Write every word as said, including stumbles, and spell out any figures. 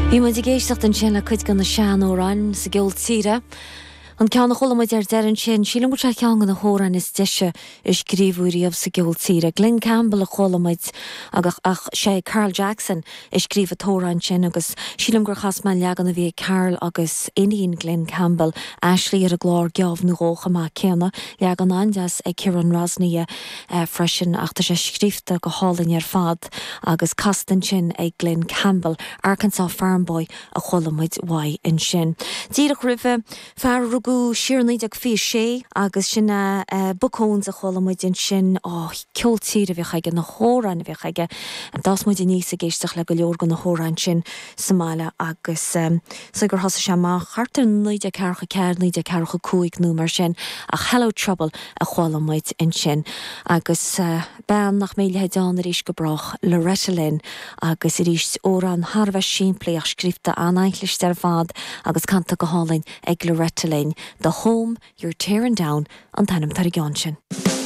Bhí muid ag éisteacht ansin le cuid de na seanamhráin sa gceol tíre. An ceann a chuala muid ar deireadh ansin, sílim go bhfuil sé ceann de na hamhráin is deise a scríobhadh riamh sa gceol tíre. Glen Campbell a chuala muid agus ach sé Carl Jackson a scríobh an t-amhrán sin agus sílim gur chas mé leagan a bhí ag Carl agus iníon Glen Campbell Ashley ar an gclár geábh nó dhó chomh maith céanna, leagan an-deas ag Ciarán Rosnia eh, freisin ach tá sé scríofa go hálainn ar fad agus casta ansin ag Glen Campbell, Arkansas Farm Boy a chuala muid uaidh ansin. Díreach roimhe fear a rugadh siar naoi déag fiche sé agus sin uh, uh, Buck Owens a chuala muid ansin ó ceol tíre a bhíodh aige na hamhráin a bhíodh aige. D'fhás muid aníos ag éisteacht le go leor de na hamhráin sin sa mbaile agus um, so gur thosaigh sé amach thart ar naoi déag ceathracha ceathair naoi déag ceathracha cúig nó mar sin ach Hello Trouble a chuala muid ansin agus uh, bean nach mbeidh le leithéid arís go brách Loretta Lynn agus arís amhrán thar a bheith simplí ach scríofa an-chliste ar fad agus canta go hálainn ag Loretta Lynn, The Home You're Tearing Down an t-ainm ar an gceann sin.